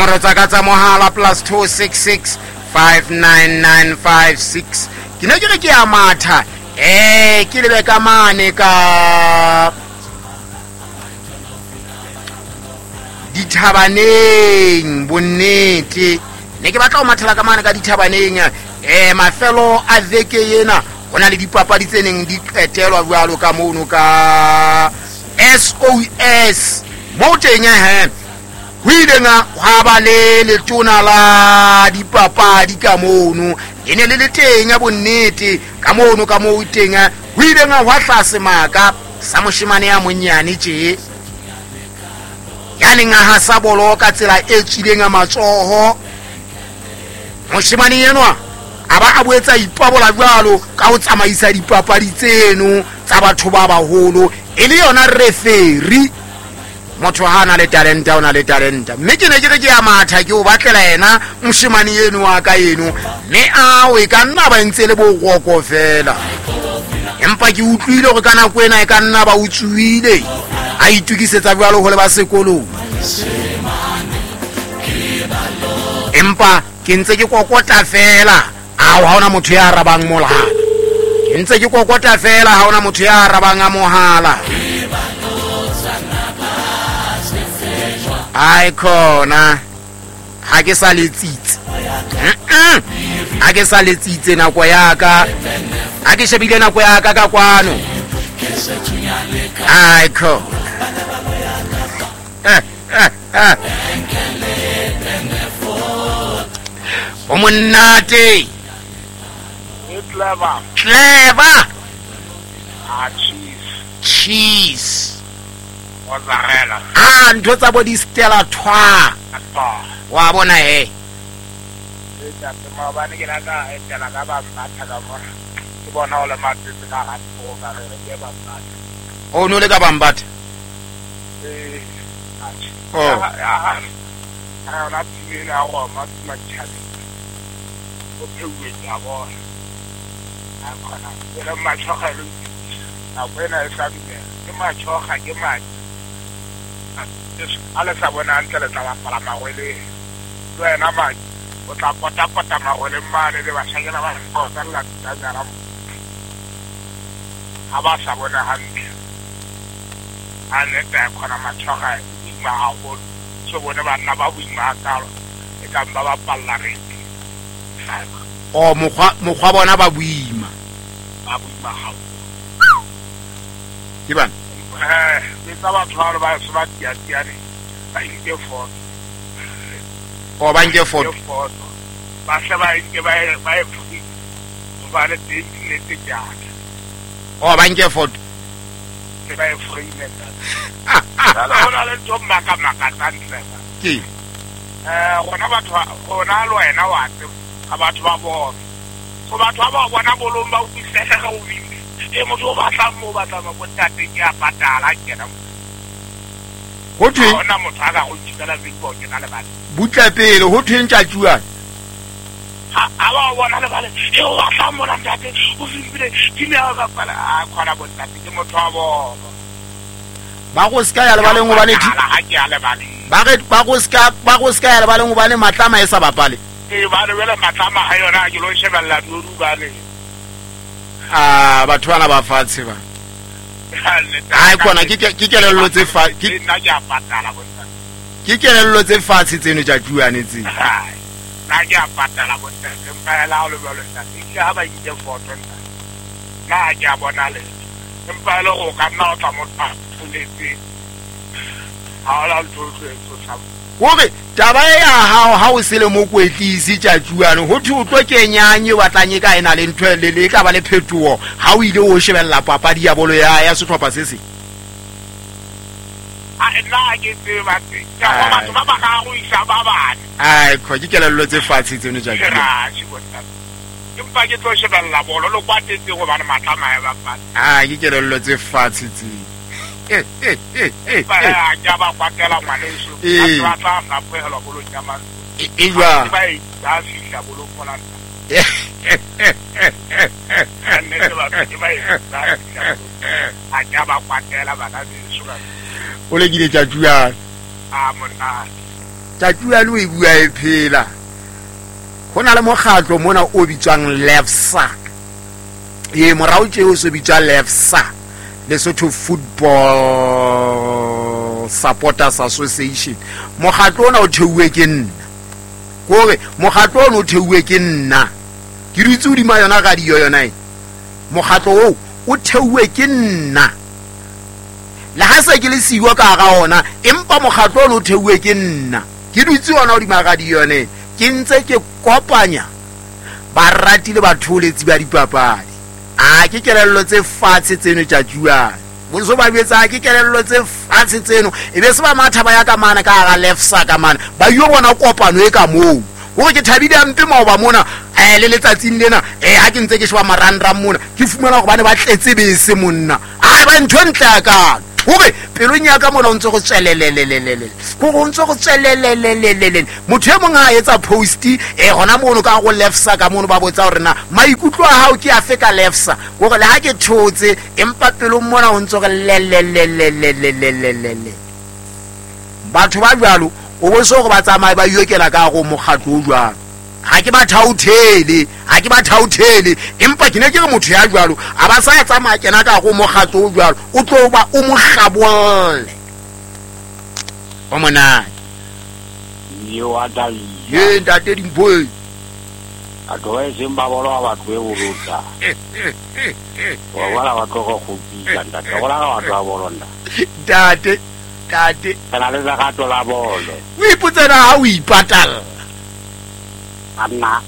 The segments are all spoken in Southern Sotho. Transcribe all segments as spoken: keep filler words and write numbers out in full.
Nomoro tsa ka tsa mohala plus two six six five nine nine five six. Ke ne ke re ke a matha eh ke lebe ka mane ka dithabaneng bonnete ne ke batla ho mathela ka mane ka dithabaneng eh mafelo a veke ena ho na le dipapadi tse neng di qetelwa jwalo ka mono ka S O S mo teng he ho ileng ha ba le letona la dipapadi ka mono e ne le le teng bonnete ka mono ka moo teng ho ileng ha hlase maka sa moshemane ya monyane tje ya neng a hasa bolo ka tsela e tswileng matsoho moshemane enwa a ba a boetsa ipabola jwalo ka ho tsamaisa dipapadi tseno tsa batho ba baholo e le yona referee motho ha na le talenta o na le talenta mme ke ne ke re ke ya matha ke o batlela yena moshemane eno wa ka eno mme ao e ka nna ba ntse le boroko fela empa ke utlwile hore ka nako ena e ka nna ba utsuile a itukisetsa jwalo ho le ba sekolong empa ke ntse ke kokota fela ao ha ona motho ya arabang mohala ke ntse ke kokota fela ha ona motho ya arabang a mohala ai khona ha ke sa letsitse ha ke sa letsitse nako ya ka ha ke shebile nako ya ka ka kwano ai khona o monate clever clever ah cheese cheese mozzarella ah ntho tsa bo di stella twa wa bona he e tsa maobane ke la ka etela ka ba batha ka mona ke bona o le matsetse ka ga tlo ka re ke ba batha o no le ka ba mbatha eh oh ha ha na tshimela go ma tshima o pheuwe ya bona a khona e le matshoga le a wena e sa dumela ke matshoga ke madi a le sa bona hantle le tla bapala magwele le wena madi o tla potapota magwele mane le bashanyana ba kgotsa tsanyana ha ba sa bona hantle a nete a khona matshoga e boima haholo so bone banna ba boima hakalo e ka ba bapalla reke o mokgwa mokgwa bona ba boima ba boima haholo ke bana eh le tsa batho ba ba se ba tiatiane ba nke foto o ba nke foto ba se ba nke ba ba e ba le teng nnete ke a o ba nke foto ke ba e frame tsa la hona le ntho maka maka tsantle ke eh rona batho rona le wena wa tseba a batho ba bona so batho ba bona bolong ba utlwisisa ga o bile e motho o batla mo batla mo bontate ke a patala kena ho thwe ona motho a ka go tshela big ke na le bana butla pele ho thwe ntja tjuana ha a ba bona le bana e o batla mo ntate o fimpile ke ne a bapala a khona bontate ke motho wa bona ba go ska ya lebaleng hobane ha ke ya lebaleng ba re ba go ska ba go ska ya lebaleng hobane matlama e sa bapale e ba re bele matlama ha yona ke lo shebella diodu ba le ah batho bana ba fatshe ba ai khona ke ke kelello tse fa ke nna ke a patala bontate ke kelello tse fatshe tseno tja tjuane tse nna ke a patala bontate empa ela o le jwalo ntate ke ha ba nke foto ntate nna ke a bona le empa ele go ka nna o tla motho a tholetse ha ola ntho e tshosang hore taba ya hao ha o sele mokwetlisi tja tjuane ho thwe o tlo kenyang o batlang e ka ena le ntho le le ka ba le phetoho ha o ile o shebella papadi ya bolo ya ya sehlopha se seng a nna ke tseba tse ka go batho ba ba ga go isa ba bane ai kho ke kelello tse fatshe tseno tja tjuane empa ke tlo shebella bolo le kwatetse gobane matlama ya bapala ah ke kelello tse fatshe tse eh eh eh eh ba ya ba kwatela ngwaneso ba tla fapohelwa bolong ya mantswe e jwa ba e ba fihla bolong mona nne ba ke ba e ba a ka ba kwatela bana beso o lekile tja tjuana a monna Tjatjua le o e bua e phela. Ho na le mokgatlo mona o bitswang Lefsa. E morao tje o so bitswa Lefsa, Lesotho Football Supporters Association. Mokgatlo ona o theuwe ke nna. Kore mokgatlo ona o theuwe ke nna. Ke dutse hodima yona radio yona e. Mokgatlo oo o theuwe ke nna. Le ha se ke le siwa ka hara ona, empa mokgatlo ona o theuwe ke nna. Ke dutse ona hodima radio yone. Ke ntse ke kopanya barati le batholetsi ba dipapadi. A ke kelello tse fatshe tseno tjatjuana. Boso ba jwetsa ke kelello tse fatshe tseno. E be se ba matha ba ya ka mana ka hara Lefsa ka mana. Ba yo bona kopano e ka moo. Hore ke thabile hampe maoba mona, eh le letsatsing lena, eh ha ke ntse ke sheba marangrang mona, ke fumana hore bane ba tletse bese monna. Ai ba ntho ntle ya ka. Hore pelong ya ka mona o ntse go tswelelelelelele. Hore o ntse go tswelelelelelele. Motho e mong a etsa post eh hona mono ka go Lefsa ka mono ba botsa hore na maikutlo a hao ke afe ka Lefsa. Hore le ha ke thotse empa pelong mona o ntse go lelelelelelelelele. Batho ba jwalo o bo so go ba tsamaye ba yokela ka go mokgatlo o jwalo. Ha ke ba thauthele, ha ke ba thauthele, empa ke ne ke re motho ya jwalo a ba sa tsamaya kena ka go mokgatlo o jwalo, o tlo ba o mo hlabolle. O monate. Yo a dai. Ye ntate Dimpho. A tlo e seng ba bolo ba tlo e bolotsa. Wa wala ba tlo go gopisa ntate. Go la ba tlo ba bolonda. Ntate, ntate. Kana le lerato la bolo. O ipotsela ha o ipatalla. Anna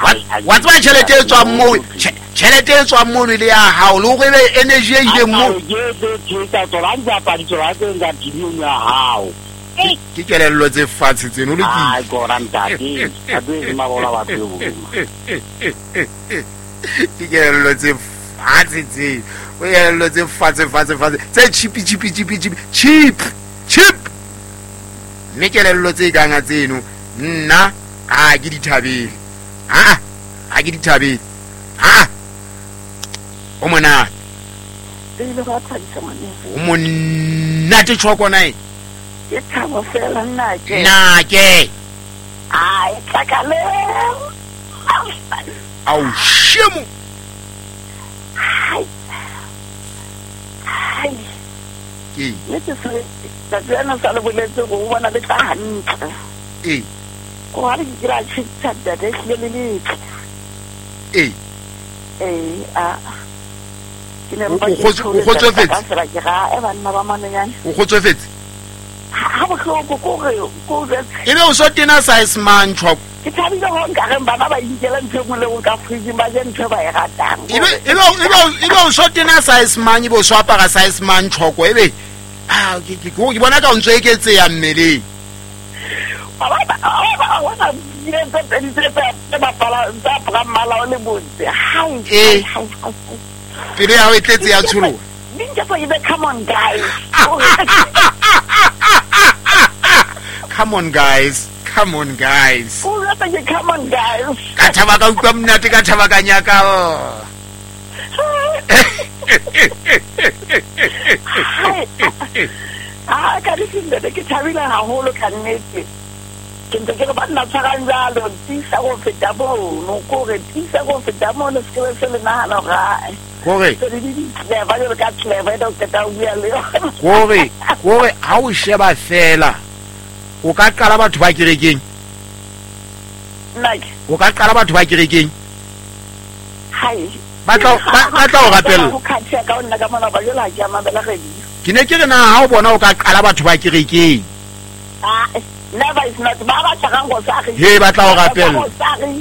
wa tswa tjhelete e tswang moo, tjhelete e tswang mono le ya hao le hore ebe energy e ileng moo. Ke ke ke tsa tsona ntsa pa ditsela tse ntsa tshimong ya hao. Ke kelello tse fatshe tseno le ke. Ai kora ntate, a tlo e mabola batho e boluma. Ke kelello tse fatshe tse. O kelello tse fatshe fatshe fatshe tse cheap cheap cheap cheap cheap cheap. Mme kelello tse kang tseno nna a ke di thabele. Ah, a ke di thabele. Ah. O monate. Pele ba thabisa ngwaneso. O monate tshoko nae. Ke thabo fela nna ke. Nna ke. Ai tlakale. Au shemo. Ai. Ai. Ke. Le ke se tsa tsena sa le boletse go bona le tla hantle. Eh. Ko ha re ke ra tshitsa data e le letle. Eh. Eh a ke ne ba o kgotsofetse. Ke ga e banna ba manonyane. O kgotsofetse. Ha bohloko ko re ko re. Ebe o so tena size man choko. Ke thabile ho nka re bana ba inkela ntho engwe le go ka fridge ba je ntho ba e ratang. Ebe ebe ebe ebe o so tena size man ebe o so apara size man choko ebe ah ke ke ke bona ka o ntse eketseya mmeleng. Ba ba ba wa na dire tse pedi tse tse bapala tsa apara mmala o le botse. Hai. Eh. Pele ya ho e tletse ya tsholoha. Ninja for you, come on guys. Come on guys. Come on guys. Oh, come on guys. Ka thaba ka utlwa monate ka thaba ka nyaka. Ah, ka ditse ke thabile haholo ka nnete. Ke ntse ke re banna tshwarang jalo, tisa go feta mono, kore tisa go feta mono se ke se le nahana hore ae. Kore clever jalo ka clever e qeta o bua le yona. Kore kore ha o sheba fela o ka qala batho ba kerekeng. Nna ke o ka qala batho ba kerekeng. Hai. Ba tla ba tla o rapella. Ho khathea ka nna ka mona ba jela ke a mamela radio. Ke ne ke re na ha o bona o ka qala batho ba kerekeng. Ah, never is not ba ba tshwarang go sa re. He ba tla o rapella.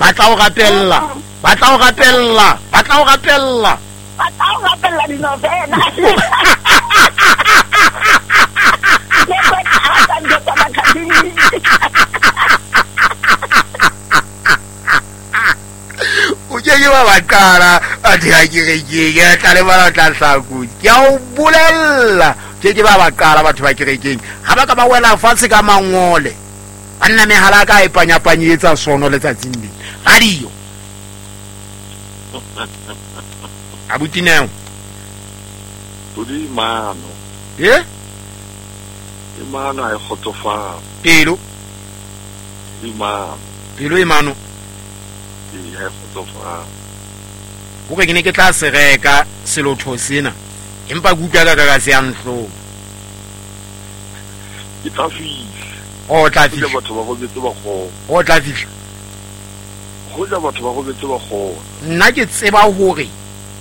Ba tla o rapella. Ba tla o rapella. Ba tla o rapella. Ba tla o rapella dinovena. Le ba tla ntho tsa bakadimi. O ke ke ba ba qala batho ba kerekeng ke tla le bana tla hlakodi. Ke a o bolella ke ke ba ba qala batho ba kerekeng ha ba ka ba wela fatshe ka mangole. Banna mehala ka e panyapanyetsa sono letsatsing le. Radio. Abuti Neo. Pudi mano. Eh? E mano a e kgotsofala. Pelo. E mano. Pelo e mano. Ee, ha e kgotsofala. Hore ke ne ke tla se reka selotho sena, empa ke utlwa ka ka ka se ya nhlong. Ke tla fihla. O tla Hoja fihla. batho ba robetse ba kgona. O tla fihla. Hoja batho ba robetse ba kgona. Nna ke tseba hore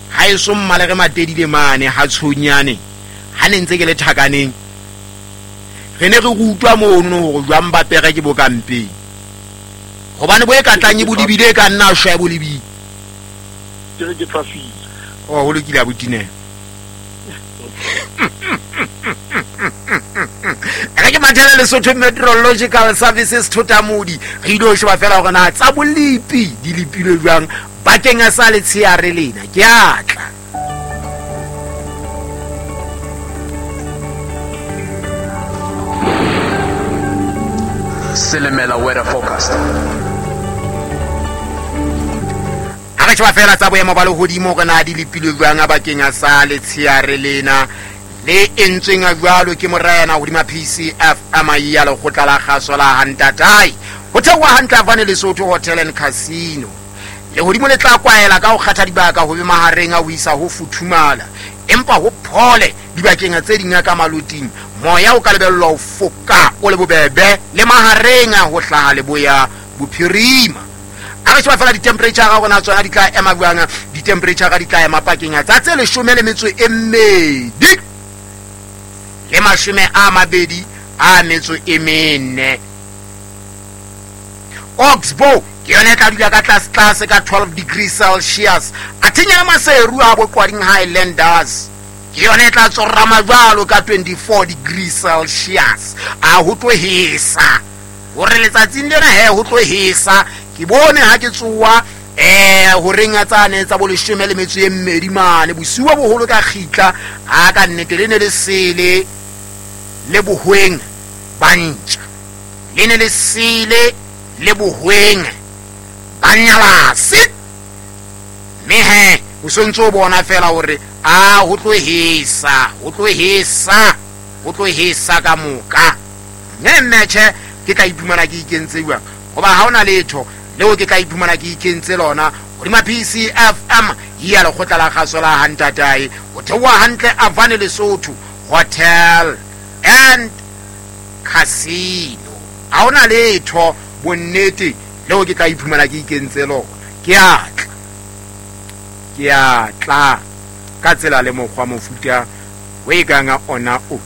ha eso mmale re matedile mane ha tshonyane ha ne ntse ke le thakaneng, re ne re rutwa mono hore jwang ba pere ke bo kampeng, hobane bo e ka tlang e bo lebile e ka nna a shwa e bo lebile. Ke re ke tla fihla. Oh, ho lokile abuti Neo. Re ke mathele Lesotho Meteorological Services Thotamodi, re ile ho sheba fela hore na tsa bolepi di lepilwe jwang bakeng a sa letsheare lena. Ke a tla. Silimela weather forecast. Ha re sheba fela tsa boemo ba lehodimo hore na di lepilwe jwang bakeng a sa letsheare lena le entsweng jwalo ke morena hodima P C F M ya lekgotla la kgaso la Hantatai. Ho theoha hantle Havane Lesotho Hotel and Casino. Lehodimo le tla kwaela ka ho kgatha dibaka ho be mahareng a ho isa ho futhumala, empa ho phole dibakeng tse ding ka maloting. Moya o ka lebellwa ho foka o le bobebe le mahareng a ho hlaha leboya bophirima. A re sheba fela di-temperature ga rona tsona di tla ema jwang? Di-temperature di tla ema pakeng tsa tse leshome le metso e mmedi le mashome a mabedi a metso e mene. Oxbow ke yona e tla dula ka tlase tlase ka twelve degrees Celsius. Athenya Maseru a boqwading Highlanders ke yona e tla tsorama jwalo ka twenty-four degrees Celsius. A ho tlo hesa hore letsatsing lena he ho tlo hesa. Ke bone ha ke tsoa eh horeng a tsane tsa bo leshome le metso e mmedi mane bosiu bo boholo ka kgitla, a ka nnete le ne le sele le bohweng ba ntja, le ne le sele le bohweng ba nyalase. Mme he o sontse o bona fela hore a ho tlo hesa, ho tlo hesa, ho tlo hesa ka moka. Mme mmetjhe ke tla iphumana ke ikentse jwang, hoba ha hona letho leo ke tla iphumana ke ikentse lona hodima P C F M ya lekgotla la kgaso la Hantatai. Ho theoha hantle Havane Lesotho Hotel and Casino. Ha hona letho bonnete leo ke tla iphumana ke ikentse lona. Ke a tla, ke a tla ka tsela le mokgwa mofuta o e kang ona o.